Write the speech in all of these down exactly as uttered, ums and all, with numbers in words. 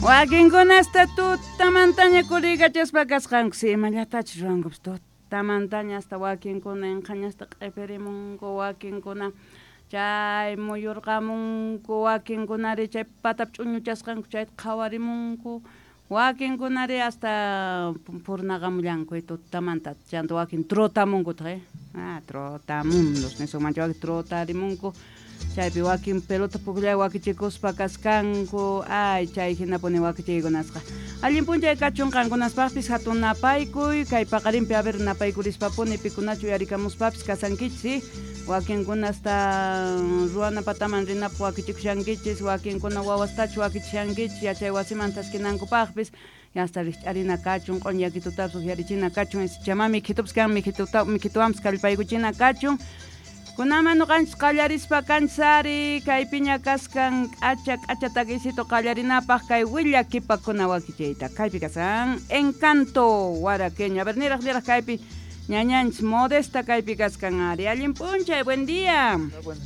Wakinkunasta tutamantaña kurikachaspa kasqanku, si imallatachus ruwankupis tutamantaña hasta wakinkuna inqañasta q'ipirimunku, wakinkuna chay muyurqamunku, wakinkunari chay patap ch'uñuchasqanku chayta qhawarimunku, wakinkunari hasta purnaqamullanku tutamanta, chanta wakin trotamunkutaq eh ah trotamundos nisunmancha wakin trotarimunku, chaypi wakin pelota pukllay wakichikuspa kaskanku, ay chay hinapuni wakichiykunasqa. Allin p'unchay kachun qankunaspaqpis hatun napaykuy, kay paqarinpi a ver napaykulispapuni pikunachu yarikamuspapis kasankichis, si wakinkunasta ruwana pataman rinapaq wakichikushankichis, wakinkuna wawastachu wakichishankichis yachay wasiman taskinankupaqpis, hasta rikch'arina kachun, q'uñakitutapis uqyarichina kachun, chamami mikhitupis kan mikhituta mikhituwanpis kallpaykuchina kachun. Kunaman nuqanchis qallarispa kanchis kaypiña kaskan k'acha k'acha takisito qallarinapaq kay willakipakuna wakichiyta. Kaypi kasan Encanto Waraqueño. A ver, niraq niraq kaypi ñañanchis Modesta kaypi kaskan ari. Allin p'unchay, buen día. Buenos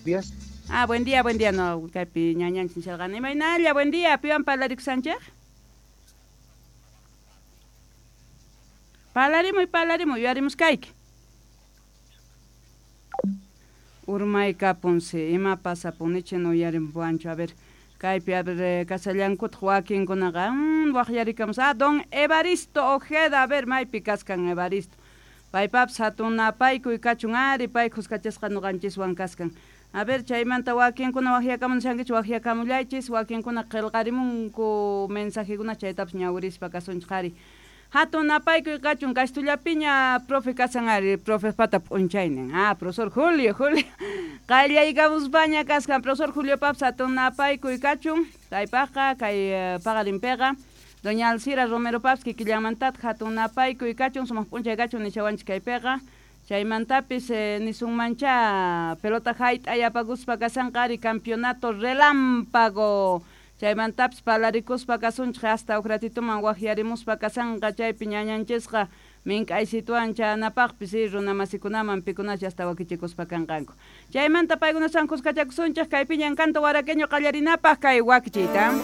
días. Ah, buen día, buen día. No, kaypi ñañanchis nisharqani. Imaynalla, buen día. Piwan parlarikushanchik? Parlarimuy, parlarimuy, yuyarimuskayki. Urmaykapunsi, ima pasapunichi no uyarimpuwanchu. A ver, kaypi a ver kasallankutaq wakinkunaqa mm, waqyarikamus. Ah, don Evaristo Ojeda, a ver, maypi kaskan Evaristo. Paypapis hatun napaykuy kachun ari, pay kuskachasqa nuqanchiswan kaskan. A ver, chaymanta wakinkuna waqyakamunishankichis, waqyakamullaychis, wakinkuna qillqarimunku mensajekuna chaytapas ñawirispa kasunchik ari. Hatun napaykuy kachun kastullapiña profe kasan ari, profe pata p'unchaynin. Ah, profesor Julio, Julio. Qallaykamuspaña kaskan profesor Julio papas hatun napaykuy kachun. Kaypaqqa kay paqarinpiqa doña Alcira Romero papas kikillanmantataq hatun napaykuy kachun, sumaq p'unchay kachun nishawanchik kaypiqa. Chaymantapis eh, nisunmancha pelota hayt'ay apakuspa kasanqa ari campeonato relámpago. Chaymantapis parlarikuspa kasunchik hasta huk ratituman waqyarimuspa kasanqa chaypi ñañanchisqa mink'aysituwan chanapaqpis runamasikunaman pikunachu hasta wakichikuspa kanqanku. Chaymanta paykunasan kuskachakusunchik kaypiña Encanto Waraqueño qallarinapaq kay wakichiyta.